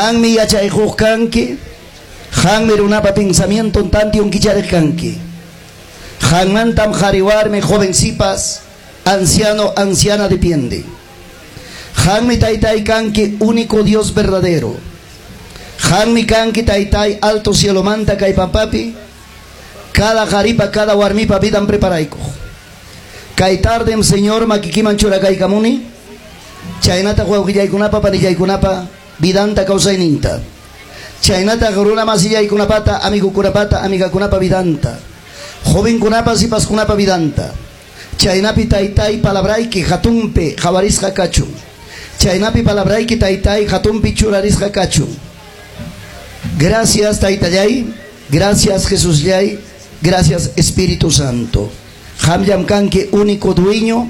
Qanmi yachay quq kanki, qanmi runapa pensamienton tantion kichariq kanki. Qanmantam qari warmi, joven sipas, anciano, anciana depende. Qanmi taytay kanki único Dios verdadero. Qanmi kanki taytay alto cielomanta kay pampapi, cada qaripa, cada warmipa vidan preparaykuq. Kay tardem Señor makikiman churakaykamuni, chaynataq wawqillaykunapa panillaykunapa vidanta kawsayninta. Chaynataq runa masillaykunapata, amigukunapata, amigakunapa vidanta. Jovenkunapa, sipaskunapa vidanta. Chaynapi taytay palabrayki hatunpi qawarisqa kachun. Chaynapi palabrayki taytay hatunpi churarisqa kachun. Gracias taytallay, gracias Jesusllay, gracias Espíritu Santo. Qamllam kanki único dueño,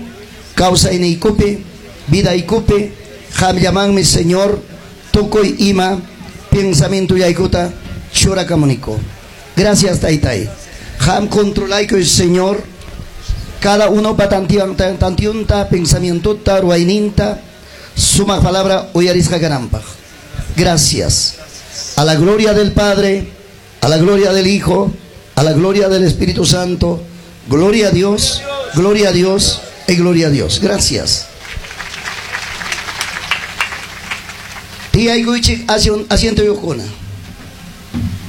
kawsayniykupi, vidaykupi, qamllamanmi Señor tukuy ima pensamientollaykuta churakamuniku. Gracias taytay. Qam controlaykuy Señor, cada unopa tantionta, pensamientota, ruwayninta, sumaq palabra uyarisqa kananpaq. Gracias. A la gloria del Padre, a la gloria del Hijo, a la gloria del Espíritu Santo. Gloria a Dios, gloria a Dios y gloria a Dios. Gracias. Tiyaykuychik asientoyuqkuna.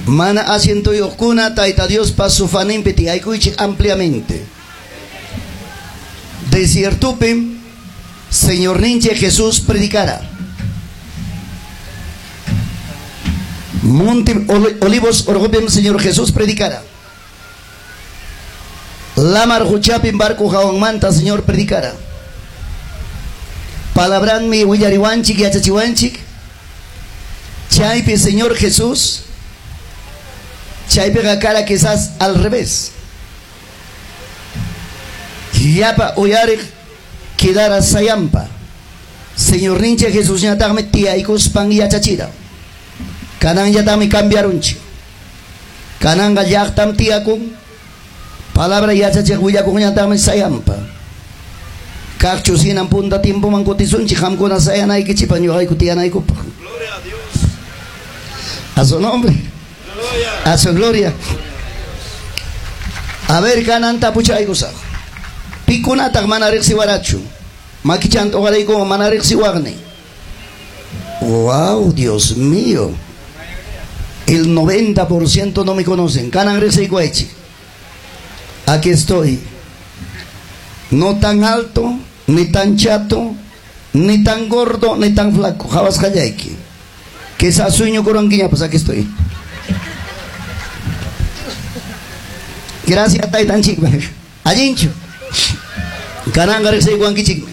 Mana asientoyuqkuna Tayta Diospa sofaninpi tiyaykuychik ampliamente. Desiertupim Señorninchik Jesús predicara. Monte Olivos orqupim Señor Jesús predicara. Lamar quchapim barco hawanmanta Señor predicara. Palabranmi willariwanchik yachachiwanchik. Chaypi Señor Jesús, chaypiqa kara quizás al revés. Llapa uyariq quedara sayampa. Señorninchik Jesusñataqmi tiyaykuspan yachachira. Kananllataqmi cambiarunchik. Kananqa llaqtam tiyakun. Palabra yachachiq willakuqñataqmi sayampa. Kaqchu hinan punta tiempoman kutisunchik qamkuna sayanaykichikpaq ñuqayku tiyanaykupaq. Gloria a Dios. A su nombre. Gloria. A su gloria. A ver, kanan tapuchaykusaq. Pikunataq mana riqsiwarachu? Makichanta uqaraykuman mana riqsiwaqni. Wow, Dios mío. El 90% no me conocen. Kanan riqsiykuwaychik. Aquí estoy. No tan alto, ni tan chato, ni tan gordo, ni tan flaco. Qawasqallayki. Quizás sueño kurankiña, pues aquí estoy. Gracias, taytanchikman. Allinchu. Kananqa riqsiykuwankichikmi.